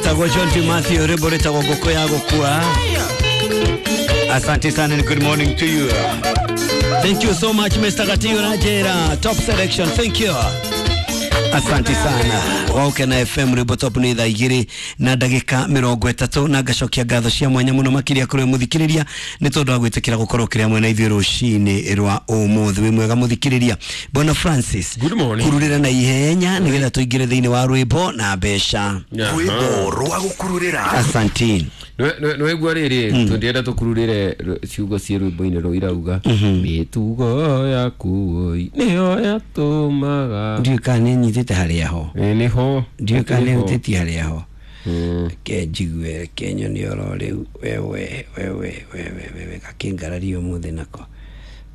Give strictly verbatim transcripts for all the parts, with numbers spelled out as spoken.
Etagwo John T. Matthew rwimbo rwĩtagwo ngũkũ ya gũkua. Asante sana and good morning to you. Thank you so much Mister Gatio Najera. Top selection. Thank you. Asante sana. Waukena F M rwimbo top ni thaa igĩrĩ na ndagĩka mĩrongo ĩtatũ na ngacokia ngatho cia mwanya mũno makĩria kũrĩ mũthikĩrĩria nĩ tondũ wa gwĩtĩkĩra gũkorwo kĩrĩa mwena ithuĩ rũcinĩ rwa ũmũthĩ. Wĩ mwega mũthikĩrĩria. Bwana Francis, good morning. Kururĩra na ihenya nĩgetha tũingĩre thĩinĩ wa rwĩmbo na mbeca. Rwĩmbo rwa gũkururĩra. Asante. Nĩwaigua rĩrĩ tũngĩenda tũkururĩre ciugo ciĩ rwĩmbo-inĩ rũu irauga mĩtugo yaku oi nĩyo yatũmaga. Ndiũĩ kana nĩnyitĩte harĩa ho. Nĩho. Ndiũĩ kana nĩhutĩtie harĩa ho. Reke njigue, reke nyone oro rĩu wewe wewe wewe wewe gakĩngararia ũmũthĩ nako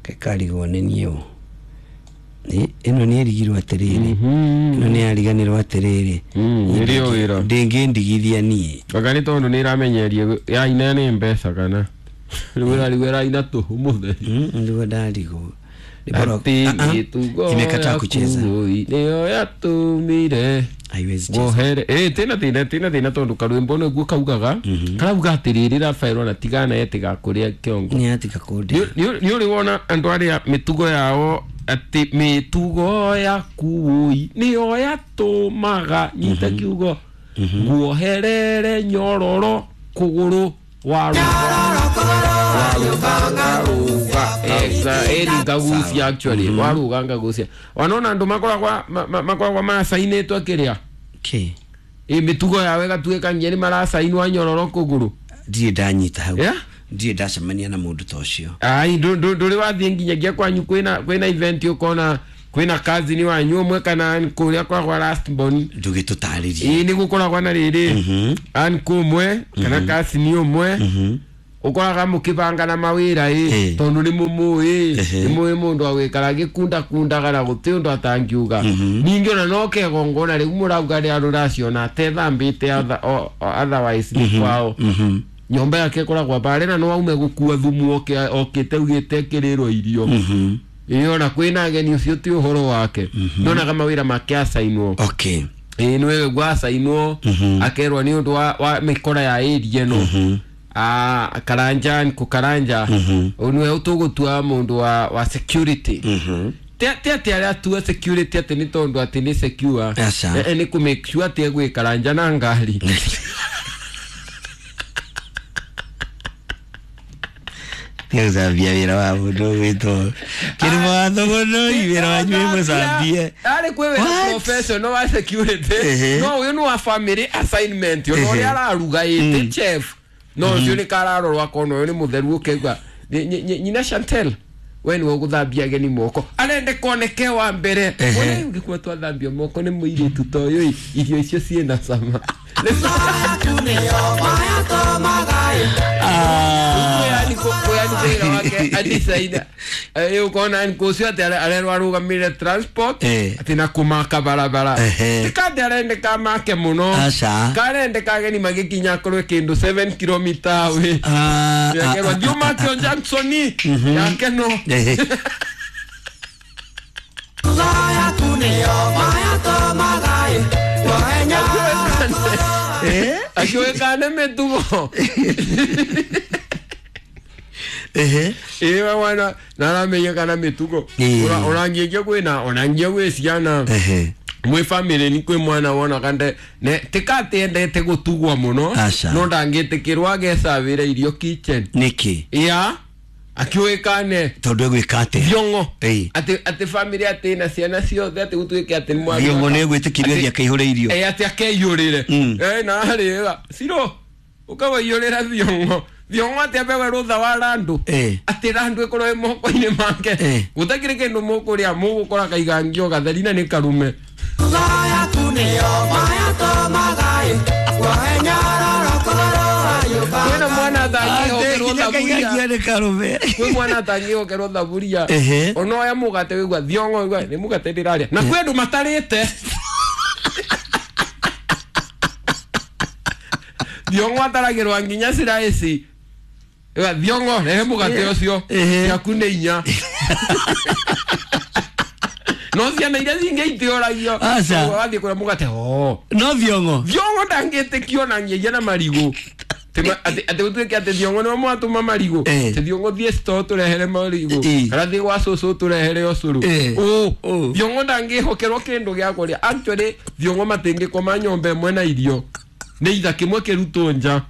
kekarigwo nĩ niĩ ũ. Ĩno nĩ ĩrigirwo atĩrĩrĩ, ĩno nĩ yariganĩrwo atĩrĩrĩ, nĩrĩo wĩra ndĩngĩndigithia niĩ. Anga nĩ tondũ nĩ ĩramenyeria yaina nĩ mbeca kana rĩu ĩrarigwo ĩraina tũhũ mũtheri. Nĩguo ndarigwo. Atĩ mĩtugo imekataa kucheza nĩyo yatũmire haiwezi cheza. Wohere eh tena tena tena tena tondu karwimbo niguo kaugaga karauga atiriri Rafael ona tigana etiga kuria kiongo ni atiga kundi ni uri wona andu aria mitugo yao ati mitugo yaku niyo yatumaga nyita kiugo guoherere nyororo kuguru wa ngagucia actually waruga ngagucia wanona andu makoragwa makoragwa macainĩtwo kĩrĩa ki ĩ mĩtugo yao ĩgatuĩka nginya nĩ maracainwo nyororo kũgũrũ. Ndirĩ ndanyita hau, ndirĩ ndacemania na mũndũ ta ũcio. Ai ndũrĩ wathiĩ nginyagia kwanyu kwĩna kwĩna event ũkona kwĩna cousin wanyu ũmwe kana kũrĩa kwagwa last born ndũgĩtũtarĩrie. Ĩ nĩ gũkoragwa na rĩrĩ uncle ũmwe kana cousin ũmwe ukoraga mukibanga na mawira ĩ tondu ni mumuĩ ni muĩ mundu agwikara gikunda kundaga na guti undu atangiuga ningi ona no kegongona riu murauga ria ruraciona atethambite otherwise ni kwao nyomba yake ikoragwo bare na no aume gukua thumu oke okite ugite kirirwo irio ĩ ona kwina ageni ucio ti uhoro wake ndonaga mawira make acainwo. Okay, ĩ niwe gwacainwo akerwo ni undu wa mikora ya area no ah karanja nkukaranja niwe utugutua mundu wa wa security te te aria tua security ati ni tondu ati ni secure eh ni ku make sure ati egwikaranja na ngari tiagũcambia wĩra wa mũndũ gwĩtwo kĩrĩmo watho mũno wĩra wanyu wĩ mũcambie arĩ kwĩ wĩra professional wa security no ũyũ nĩ wa family assignment ũyũ ũrĩa araruga ĩte chef no ũcio nĩ kararorwo akona ũyũ nĩ mũtheru ũkaigua nyina Chantel we nĩwe ũgũthambia ageni moko arende koneke wa mbere we ũngĩkua twathambio moko nĩ mũirĩtu ta ũyũ irio icio ciĩna cama. Ukona nkucio ati arerwo arũgamĩrĩre transport ati na kũmaka barabara tikate arendeka make mũno karendeka ageni magĩkinya akorwo kĩndũ seven kilometer away yakerwo thiĩ ũmake o junction yake no akiwekane mĩtugo ehe ĩwe wana naramenya kana mĩtugo ũrangiĩkia kwĩna onangia gwĩ ciana mwĩ family ni kwĩ mwana wona kande ne tikatiendete gũtugwo mũno no ndangĩtĩkĩrwo agecabĩra irio kitchen nĩkĩ ya akiwekane tondu egwĩka atĩa thiongo atĩ atĩ family atĩ na ciana ciothe atĩ gũtuĩke atĩ nĩ mwana thiongo nĩ egwĩtĩkĩrio atĩ akaihũre irio ĩ atĩ akeiyũrĩre ĩ na harĩga ciro ũkawaiyũrĩra thiongo thiongo atĩ apewe rũtha wa randu atĩ randu ĩkorwo ĩ moko-inĩ make gũtakĩrĩ kĩndũ mũkũrĩa mũgũkora kaigangio gatheri na nĩ karume. Kwĩna mwana atangĩhokerwo thaburia kwĩ mwana atangĩhokerwo thaburia ona oya mũgate wĩigua thiongo wĩigua nĩ mũgate ndĩrarĩa na kwĩ andũ matarĩte thiongo ataragĩrwo nginya ciraici thiongo rehe mũgate ũcio ciaku nĩ inya No ciana iria cingĩ itiũragio. Aca. Wathiĩ kũrĩa mũgate o. No thiongo. Thiongo ndangĩtĩkio na ngiagia na marigũ. Atĩ atĩ gũtuĩke atĩ thiongo nĩwe mwatũma marigũ. Eh. Atĩ thiongo thiĩ store tũrehere marigũ. Eh. Kana thiĩ gwa cũcũ tũrehere ũcũrũ. Eh. Ũ. Ũ. Thiongo ndangĩhokerwo kĩndũ gĩa kũrĩa. Actually thiongo matingĩkoma nyũmba ĩmwe na irio. Nĩ itha kĩmwe kĩrutwo nja.